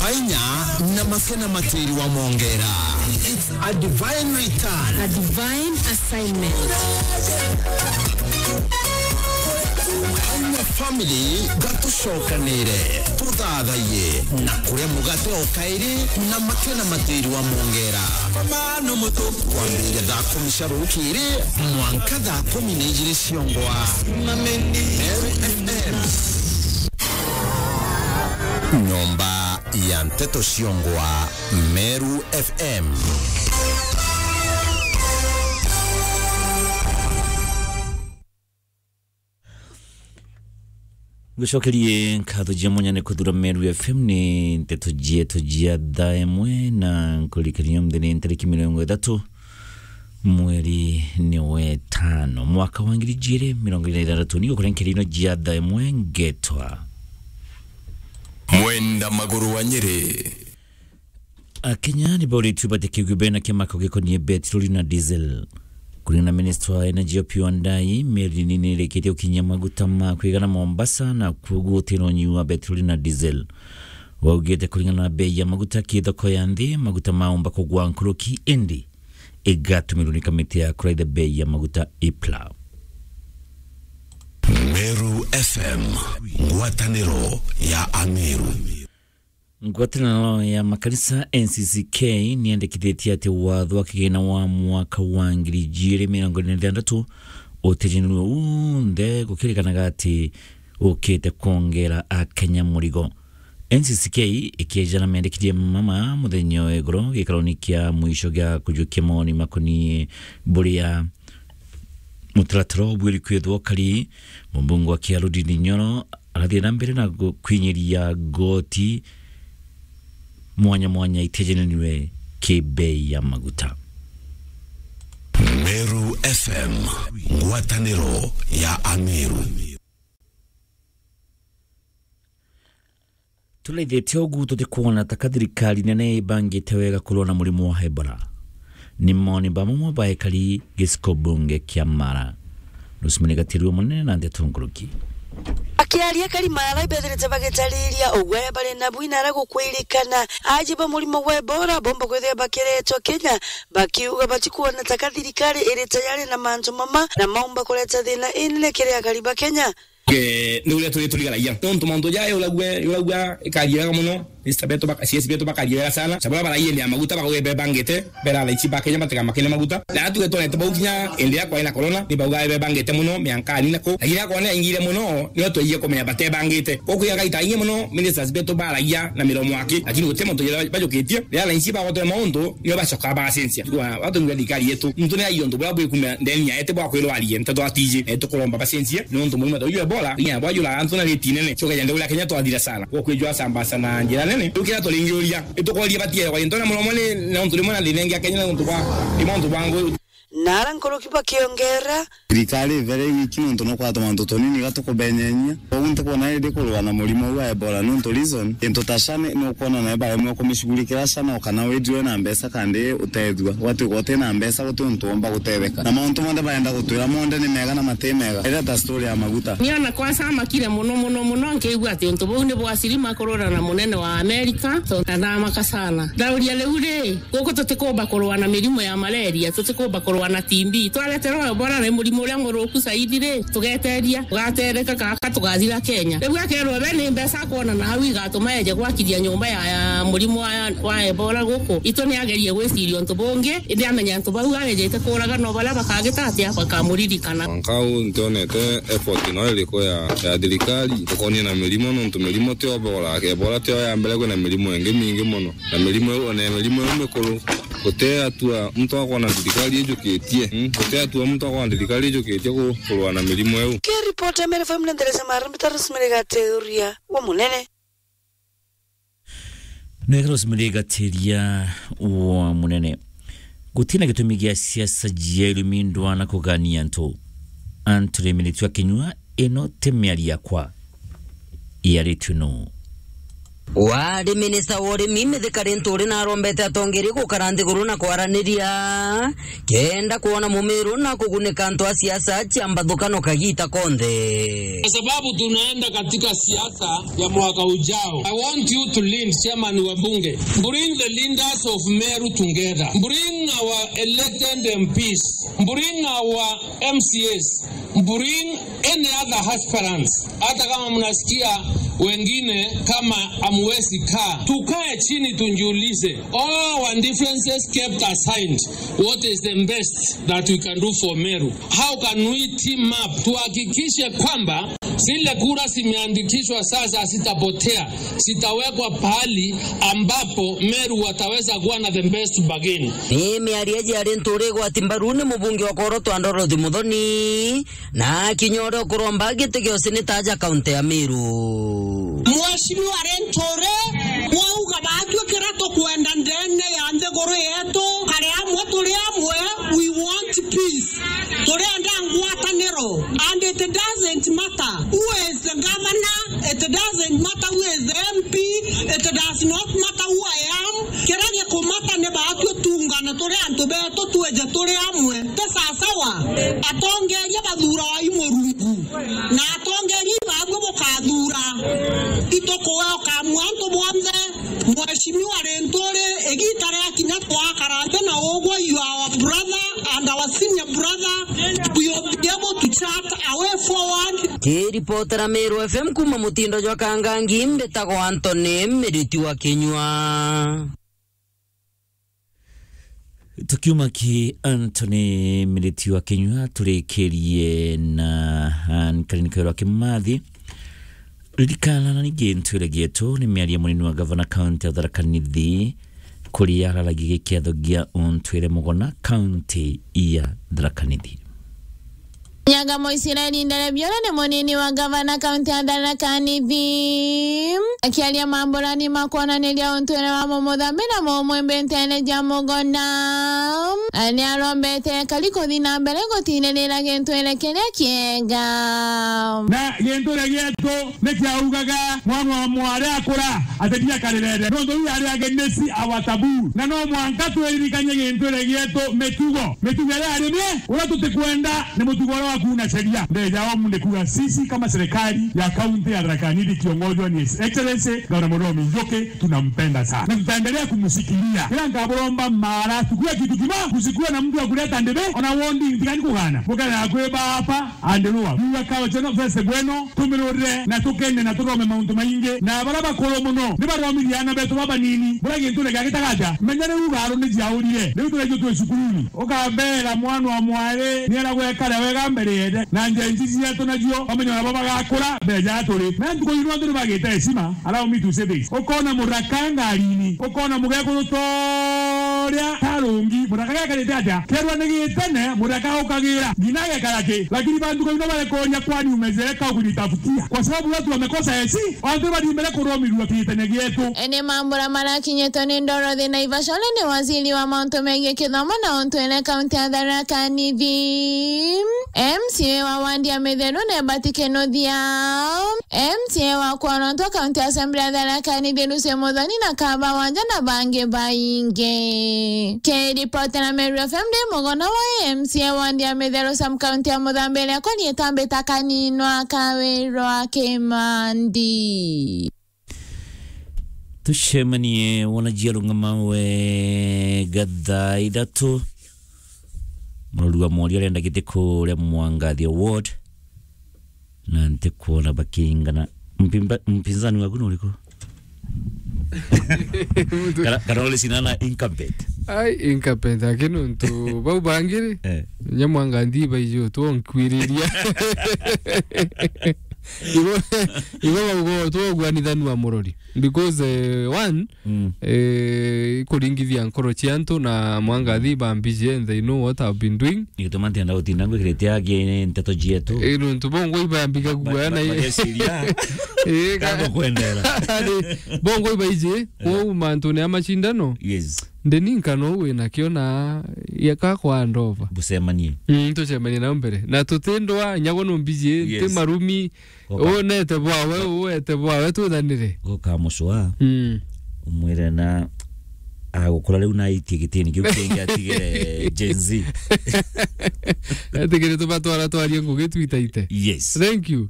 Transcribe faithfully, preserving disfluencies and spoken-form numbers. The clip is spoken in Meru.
Ainya na mafia na matiri wa mongera. It's a divine return. A divine assignment. Ainya family, gatucokanire, tuthathaiye na kuria mugate o kairi na mafia na matiri wa mongera. Kwambiriria thaa kumi cia rukiri mwanka thaa kumi na ijiri ciongwa. Meru F M. Nyomba ya nteto ciongwa, Meru F M. Ngucokerie nkatho cia mwanya ni kuthura Meru F M. Ni nteto cietu cia thaa imwe, na nkuririkania muthenya ni ntariki mirongo ithatu mweri ni wetano mwaka wa ngiri ijiri mirongo iri na ithanthatu. Ni gukuria nkerino cia thaa imwe ngetwa Mwenda Maguru wa Nyeri. Akenya ni bauritue batikigwe bena kimako gikonie petroli na diesel. Kuringana na Minister wa Energy Opiyo Wandayi, meri nini irikitie gukinyia maguta ma kwigana Mombasa, na kwoguo gutira unyiu wa petroli na diesel. Waugite kuringana na bei ya maguta ki thoko ya nthi, maguta maumba kugwa nkuruki, indi igatumirwa ni kamiti ya kuraitha bei ya maguta, IPLA. Meru F M, ngwataniro ya Ameru. Ngwataniro ya makanisa, N C C K, niyendekithitie ati watho wa kigina wa mwaka wa ngiri ijiri mirongo iri na ithanthatu utijinirwe unthe, gukirikanaga ati ukite kwongera Akenya murigo. N C C K ikiejana mendekithie mama muthenya wa iguru gikaroni kia mwisho gia kujukia mawoni makoni buria mutaratara ubwiri kwithwa ukari. Mumbunge wa Kiaru Ndindi Nyoro arathie na mbere na gu-, kwinyiria goti mwanya mwanya itijenaniwe ki bei ya maguta. Meru F M, ngwataniro ya Ameru. Turaithitie ugu tutikwona ta ka thirikari nene ibangite wega kurua na murimo wa Ebola. Ni moni bamwe baekari giciko bunge kia Mara. Rosemary Gatirua munene na ndeto nkuruki. Akiaria akari Mara ibethirite bagitariria ugwe bari nabu inara gukwirikana aji ba murimo wa Ebola bomba kwithia bakiretwa Kenya, bakiuga batikuona ta ka thirikari iri tayari na mantu mama na maumba kureta thina inene kiri akari ba Kenya. Ke, ni uria turi turigaragia. Nontu mauntu jaa yuragua, yuragua ikaria wega muno. Minister betu baka-, C S betu bakaria wega sana. Sabura baraiyenia maguta bakauga bebangite, bera thaa ici ba Kenya batiga makene maguta. Na atuge twonete bau kinya indi ya kwaina corona, ni bauga bebangite muno, miankani nako. Lakini ya corona yaingire muno, nio twaiye kumenya batebangite. Kokuya gaita ingi muno, ministers betu baragia na miromo aki. Lakini guti muntu jera bajukitie. Rira thaa ici bagotwe mauntu, nio bacoka bacenjia. Kwa watu ngia thirikari yetu, muntu ni aiyo untu buria bwikumia ndeni yaete bwa kwirwarie, nteto atiji, eh, tukuromba bacenjie, ni untu muuma ta uyu Ebola, inya bwa jura antu na riti nene, coka jende uria Kenya twathira sana. Kwa kwijua sambasa na njira nene, tukira turingiuria, itukoria batie kwa into na muromo ni, na untu rimwe na thina ingi ya Kenya na untu bwa, ni untu bwa ngu. Nara nkuruki bakiongera, thirikari ivere wiki nontu no kwatuma antu tunini gatukubenyenya. Koguo ntikwona indi kurua na murimo uu wa Ebola, nontu reason, into ta sha ni, ni ukwona nae baremwe kumishughulikira sha, no kana withirwe na mbeca kandi utethua. Gwatuika uti na mbeca, guti untu umba gutetheka. Na mauntu monthe barenda gutwira monthe ni mega na mati mega. Ira ta story ya maguta. Ni ona kwa camakire muno, muno, muno, nkiigua ati untu buu ni bwa sirima kurura na munene wa Amerika, tontu ndathamaka sana. Ndauria riu ri, guku tutikumba kurua na mirimu ya malaria, tutikumba kurua na T B. Twareterwa Ebola ni murimu uria muruku zaidi ri, tugeteria, ugatereka kaka tugathira Kenya. Riu akerwa we ni mbeca akwona na au igatuma eje gwakithia nyumba ya, ya murimu wa, wa Ebola guku. Itu ni agerie gwiciria untu bungi, indi amenya antu bau arejete kuuraga no baria bakagita atia bakamuririkana. Mwanka uu ntionete effort no iriku ya, ya thirikari ukonie na mirimu, nontu mirimu ti Ebola, Ebola tio ya mbere, kwina mirimu ingi mingi muno. Na mirimu iu, ona mirimu iu mikuru, guti atua muntu akwona thirikari ijukitie, mm? Guti atua muntu akwona thirikari ijukitie ku-, kurua na mirimu iu. Kiripota Meru F M na Nderesa Mara, mbita Rosemary Gateria wa Munene. Nega Rosemary Gateria wa Munene. Gutina gitumi gia siasa cia irumi, ndwana kugania antu. Antu ni miritu akinyua, ino ti miario yakwa. Yaritue nu? Wari minista wa urimi Mithika Linturi narombete atongeria gukara nthiguru na kwaraniria kenda kwona Mumiru na kugunika antu a siasa cia mbathukano kagiita konthe. Kwa sababu tunaenda katika siasa ya mwaka ujao, I want you to lead, chairman wa bunge, bring the leaders of Meru together, bring our elected M Ps, bring our M C As, bring any other aspirants, hata kama mnasikia wengine kama hamwezi kaa, tukae chini tujiulize, all our differences kept aside, what is the best that we can do for Meru? How can we team up tuhakikishe kwamba zile kura zimeandikishwa sasa zitapotea, zitawekwa pahali ambapo Meru wataweza kuwa na the best bargain? Ni miario iji ya Linturi igwati mbaru ni mubunge wa Korotwa Dorothy Muthoni, na kinya uria ukuromba giti gia useneta aja kaunti ya Meru. Mheshimiwa Linturi, wauga batwi kira tukwenda ndene ya nthiguru yetu, kari amwe turi amwe, we want peace. Turenda ngwataniro, and it doesn't matter who is the governor, it doesn't matter who is the M P, it does not matter who I am. Kiria gikumata ni batwi tungane turi antu betu, twije turi amwe. Ti sasawa atongeria bathurwa i Murungu, na atongeria ibabwe bukathura. Itukuwe ukamua antu bonthe. Mheshimiwa Linturi, igiita riakinya twakara nthi na ugwe, you are our brother and our senior brother, we will be able to chart a way forward. Kiripotera Meru F M kuuma mutindo jwa Kangangi, mbitagwa Anthony Miriti wa Kinyua. Tukiuma ki Anthony Miriti wa Kinyua, turikirie na Anne Karinka wa Kimathi. Ririkana na ningi ntwire gietu ni miario munini wa gavana kaunti ya Tharaka Nithi, kuria araragia giketho gia untwire mugona kaunti ya Tharaka Nithi. Nyaga Moisiraeli Nderebiora ni munini wa gavana kaunti ya Tharaka Nithi. Akiaria mamburani ma kwonaniria untwire wa mumuthambi na mumwimbi nteene ja mugona, ni arombete ekari kuthi na mbere gutiririra gintwire kiria kiega. Na gintwire gietu ni kiaugaga mwana wa mwari akura, ati ndiakarirere. Nontu iu yari against our taboo. Na no mwanka twiririkanie gintwire gietu mitugo. Mitugo iria yari ni uria tutikwenda ni mutugo uria wa kuuna sheria. Ndeja omu ni kuuga sisi kama serikali ya kaunti ya Tharaka Nithi ikiongozwa ni His Excellency Gavana Muthomi Njuki, tunampenda sana. Na tutaendelea kumshikilia. Kila nkaburomba mara, tukue kitu kimoja, kusikuwe na mtu wa kuleta ndebe, ona wondi ntigani kugana. Mukana ya kweba hapa, and Rua. Rua kao cheno fese bweno, tumirurire na tukene na turome mauntu maingi. Na baria bakuru muno, ni baromithie aana betu babanini. Buria gintu ni gia gitagaja. Menya riu garu ni jiaurire. Riu turejo twi cukuruni. Ukambera mwana wa mwari, ni ara gwekara wega mbere yende. Na njenji cietu nacio, bamenya nabo bagakura, beja turi. Na ntuku ino antu ni bagite heshima. Allow me to say this. Ukona muraka ngarini. Ukona mugekuru toria tarungi. Muraka gekarite atia? Kerwa ni gitene, muraka ukagira. Ngina gekara ki? Lakini bantu kwa ino barekoria kwani umezeka kunitafutia. Kwa sababu watu wamekosa heshima, watu bari mbere kuromirua kitene gietu. Ene mambura marakinyitwe ni Dorothy Naivasha, uria ni waziri wa mauntu megie kithomo na untwire kaunti ya Tharaka Nithi. M C A wa wandi ya Mitheru ni Bati Kinuthia. M C A wa Kwonontwa County Assembly ya Tharaka Nithi Lucy Muthoni na Kaba Wanja na bangi baingi. Kiripotera Meru F M ndi mugona wa M C A wandi ya Mitheru Sub County ya Muthambi iria kwani itambita kaninwa kawirwa Kimandi. Tucemanie wona jia rung'ama wega thaa ithatu. Murori wa mworia arenda giti kuria Mwangathi Award. Na ntikwona bakiingana. Mpimba-, mpinzani waku ni uriku? Kana, kana uri cinana incumbent? Ai, incumbent, aki nuntu bau bangiri, eh, nya Mwangathi baiji utwonkwiriria. Igo, igo bauga utwoguanithanua murori. Because, eh, one, mm, eh, ikuringithia nkoro cia antu na Mwangathi bambiji and they know what I've been doing. Ni gituma ntienda gutinda ngwikirite aki nteto cietu. Eh, nuntu bongo ibambiga guoya na ba-, bageciria. Eh, ka-, kana gukwendera. Bongo ibaiji, eh, kwou mantune ya macindano. Yes. Ndeni nkano wina kio na yeka kwa ndova. Bucemanie. Mm, tucemanie nao mbere. Na tutindwa, nyago numbiji, ti Yes. marumi, Goka. Unete bwawe, uete bwawe, twithanire. Goka mucwa. Mm. Umwire na agukura riu na aitie gitini kiu kingi atigire Gen Z. Atigire tubatwara twarie ngugi twitaite. Yes. Thank you.